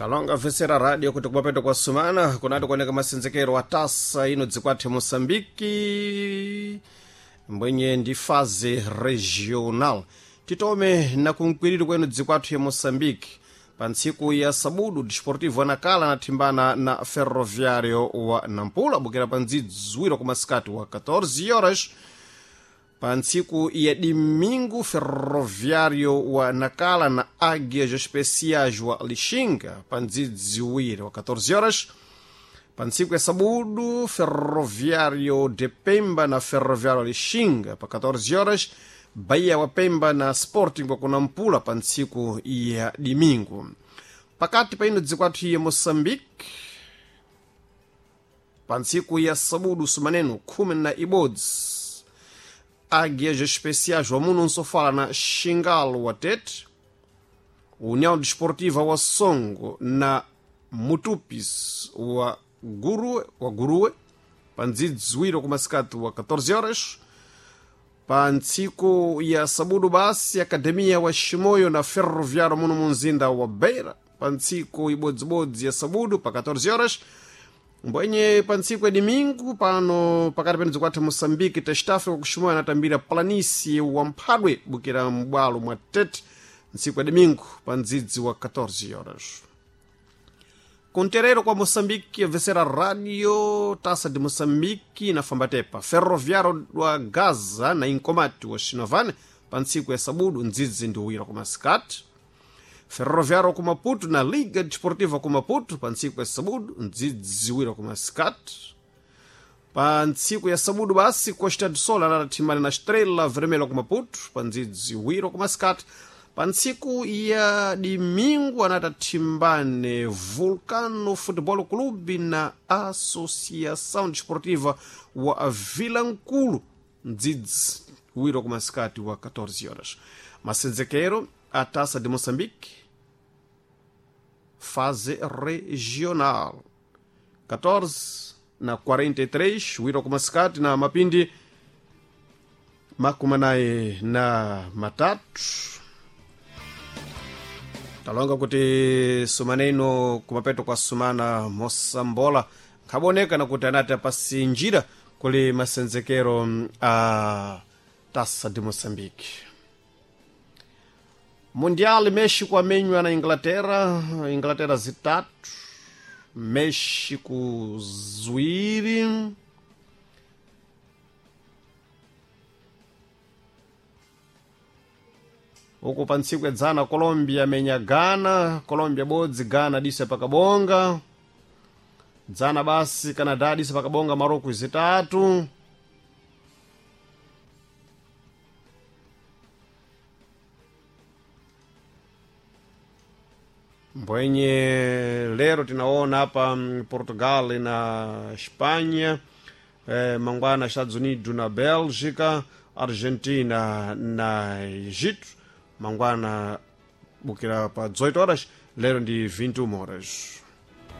Talonga vesera radio kuti kumapeto kwa sumana kunati kuoneka masenzekero a tasa ino dzikwathe Moçambique mbwenye ndi faze regional. Titome na kunkwiriri kwenu dzikwathu ya Moçambique. Pa ntsiku ya sabudu Desportivo Anakala anathimbana na Ferroviário wa Nampula bukira pa ndzidzwiro kumasikati wa 14 horas. Pa ntsiku ya domingo, Ferroviário wa Nacala na Águias Especiais wa Lixinga pa ndzidziwiri wa 14 horas. Pa ntsiku ya sabudu, Ferroviário de Pemba na Ferroviário Lixinga pa 14 horas. Bahia wa Pemba na Sporting wa Kunampula pa ntsiku ya domingo. Pakati pa ino dzikwathu ya Moçambique, pa ntsiku ya sabudu sumaneno 11, Águias Especiais wa muno nsofala na Xingalo wa Tete, União Desportiva wa Songo na Mutupis wa Gurue, wa Gurue pa ndzidziwiro kumasikati wa 14 horas. Pa ntsiku ya sabudu basi, Akademia wa Shimoyo na Ferroviário muno munzinda wa Beira pa ntsiku ibodzibodzi ya sabudu pa 14 horas. Mbwenye pa ntsiku ya domingo pano pakati pene dzikwatha Moçambique, Testafrica kuximoyo anatambira Planície wa Mphadwe bukira m'bwalo mwa Tete ntsiku ya domingo pa ndzidzi wa 14 horas. Kunterero kwa Moçambique vesera radio Taça de Moçambique na Fambatepa, Ferroviário wa Gaza na Inkomati wa Xinovane pa ntsiku ya sabudu ndzidzi ndi uwira kumasikati. Ferroviário ku Maputo na Liga Desportiva ku Maputo pa ntsiku ya sabudu ndzidziwira kumasikati. Pa ntsiku ya sabudu basi, Costa do Sol anathimbana na Estrela Vermelha ku Maputo pa ndzidziwiro kumasikati. Pa ntsiku ya domingo anatathimbane Vulcano Futebol Clube na Associação Desportiva wa Vilankulu ndzidzi wiro kumasikati wa 14 horas. Masenzekero a Taça de Moçambique fase regional 14 na 43 wiro kumasikati na mapindi 43. Talonga kuti sumaneno kumapeto kwa sumana mosambola nkhaboneka nakuti anati apasinjira kuli masenzekero a Taça de Moçambique. Mundial, México amenywa na Inglaterra, Inglaterra zitatu, México ziwiri. Uku pa ntsiku yadzana Colombia amenya Ghana, Colombia bodzi, Ghana disa pakabonga. Dzana basi Canadá disa pakabonga Marocco zitatu. Mbwenye lero tinaona hapa Portugal na Espanha, mangwana Estados Unidos na Bélgica, Argentina na Egito, mangwana bukira pa 18 horas, lero ndi 21 horas.